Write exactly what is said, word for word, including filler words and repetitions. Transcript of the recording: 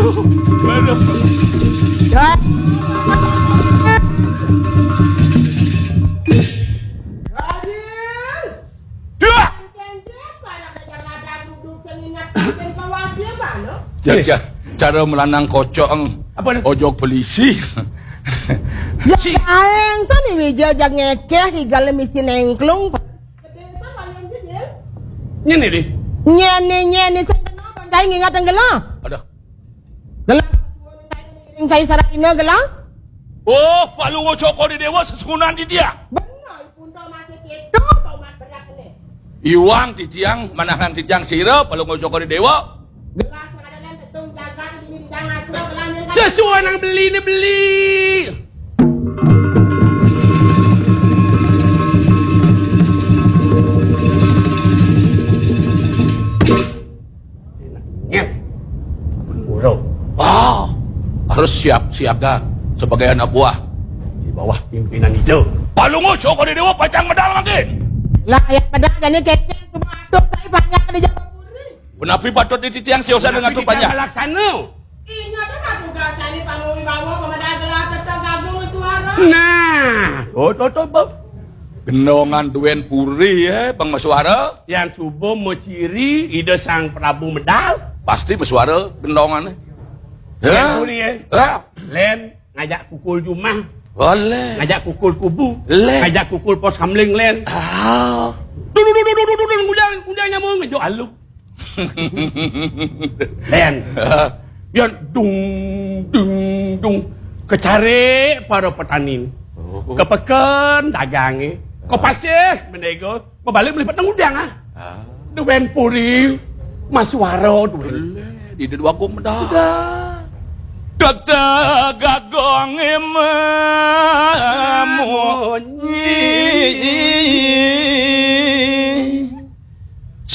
Aduh. Dah. Dah. Jajah, cara melanang kocok, eng. Apa ni? Ojok polisi. Ya, aeng sani wijil jag ngekeh, igal misi nengklung. Nyene di. Nyene, nyene, sing kena bandai ngingat tenggela. Aduh. Gelah. Ring saya sarap ina gelah. Oh, Palungguh Cokor di Dewa sesuunan di dia. Benar, ipun tau masih keto, tau mat berat ni. Iwang titiang, manahang titiang sira, Palungguh Cokor di Dewa. Gelah sing ada dalam tetung jagat ini di jangan suruh gelah yang sesuai nang beli ni beli. Ingat. Pura. Ah, harus siap siaga sebagai anak buah. Di bawah pimpinan Ida. Palungguh Cokor di Dewa pacang medal mangkin. Lah, yang medal jani kecek semua atur saya banyak di Jawa Puri. Punapi patut dititiang siosan dengan tu banyak. Laksana. Ingat dah tugas saya ni panggung bawa pemedal gelar tetap gagung suara. Nah. Oh, tutup, Bob. Gendongan duen puri, eh, Bang Masuara. Yang suba maciri Ida Sang Prabu medal. Pasti Masuara gendongan, eh. Yang puri, eh. Ya. Len ngajak kukul jumah. Boleh. Ngajak kukul kubu. Leh. Ngajak kukul pos kamling, Len. Ah. Duh, duh, duh, duh, duh, duh, duh, ngujang, ngujang nyamuk, ngejuk alu. Len. Yan dung, dung, dung. Kecari para petani. Oh. Ke peken dagang, eh. Ke pasir, mendega. Bebalik beli petang udang, ah. Ah. Duwen puri, Masuara duwen. Di dua aku medah. Udah. Dada gagong emang.